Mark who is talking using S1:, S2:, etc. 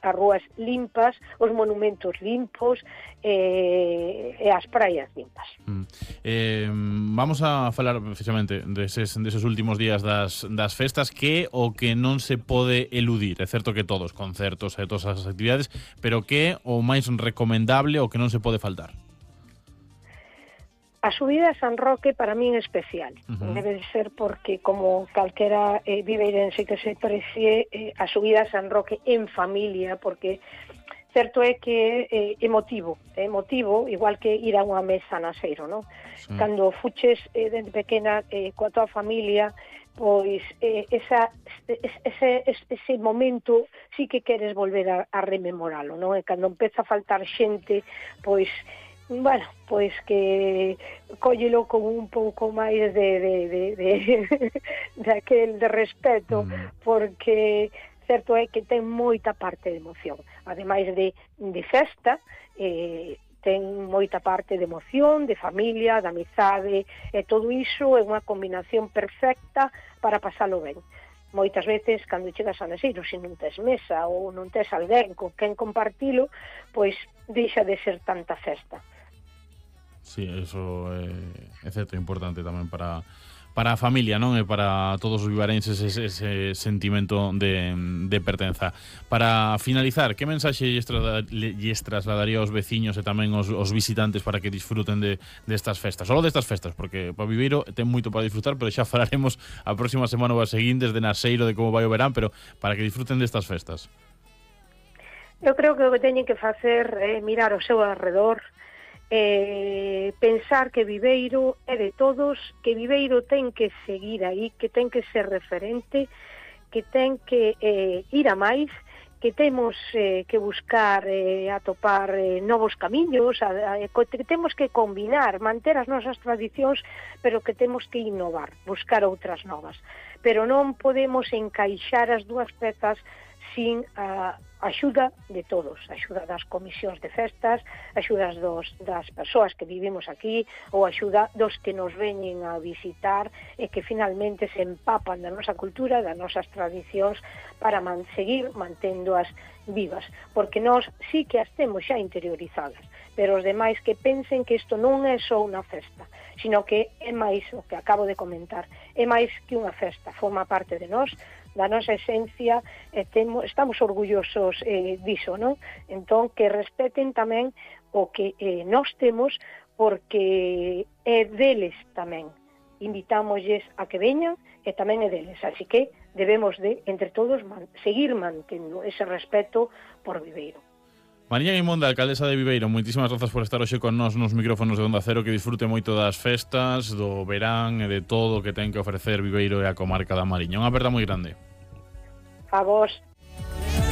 S1: as rúas limpas, os monumentos limpos e as praias limpas.
S2: Vamos a falar precisamente deses últimos días das festas, que o que non se pode eludir. É certo que todos, concertos e todas as actividades, pero que o máis recomendable o que non se pode faltar?
S1: A subida a San Roque para min é especial. Debe de ser porque, como calquera viveirense que se precie, a subida a San Roque en familia, porque certo é que é emotivo, igual que ir a unha mesa na Seiro, non? Sí. Cando fuches dende pequena coa tua familia, pois ese momento sí que queres volver a rememoralo, non? E cando empeza a faltar xente, pois bueno, pois que cóllelo con un pouco máis de aquel de respeto, porque certo é que ten moita parte de emoción. Ademais de festa, ten moita parte de emoción, de familia, de amizade, e todo iso é unha combinación perfecta para pasalo ben. Moitas veces, cando chegas a Naseiro, se non tes mesa ou non tes alguén con quen compartilo, pois deixa de ser tanta festa.
S2: Sí, eso é certo, importante tamén para a familia, non? E para todos os vivarenses ese sentimento de pertenza. Para finalizar, que mensaxe lles trasladaría aos veciños e tamén aos visitantes para que disfruten destas festas? Solo destas festas, porque para Viveiro ten moito para disfrutar, pero xa falaremos a próxima semana ou as seguintes de Naseiro, de como vai o verán, pero para que disfruten destas festas.
S1: Eu creo que o que teñen que facer é mirar ao seu alrededor, pensar que Viveiro é de todos, que Viveiro ten que seguir aí, que ten que ser referente, que ten que ir a máis, que temos que buscar atopar novos camiños, que temos que combinar, manter as nosas tradicións, pero que temos que innovar, buscar outras novas. Pero non podemos encaixar as dúas pezas sin a axuda de todos, a axuda das comisións de festas, a axuda das persoas que vivimos aquí, ou a axuda dos que nos veñen a visitar e que finalmente se empapan da nosa cultura, das nosas tradicións, para seguir manténdoas vivas, porque nós sí que as temos xa interiorizadas, pero os demais que pensen que isto non é só unha festa, sino que é máis o que acabo de comentar, é máis que unha festa, forma parte de nós, da nosa esencia, estamos orgullosos diso, non? Entón, que respeten tamén o que nós temos, porque é deles tamén. Invitámoslles a que veñan e tamén é deles, así que debemos de, entre todos, seguir mantendo ese respeto por Viveiro.
S2: Mariña Guimonda, alcaldesa de Viveiro, moitísimas grazas por estar hoxe con nós nos micrófonos de Onda Cero, que disfrute moito das festas, do verán e de todo o que ten que ofrecer Viveiro e a comarca da Mariña. Unha aperta moi grande.
S1: A vos.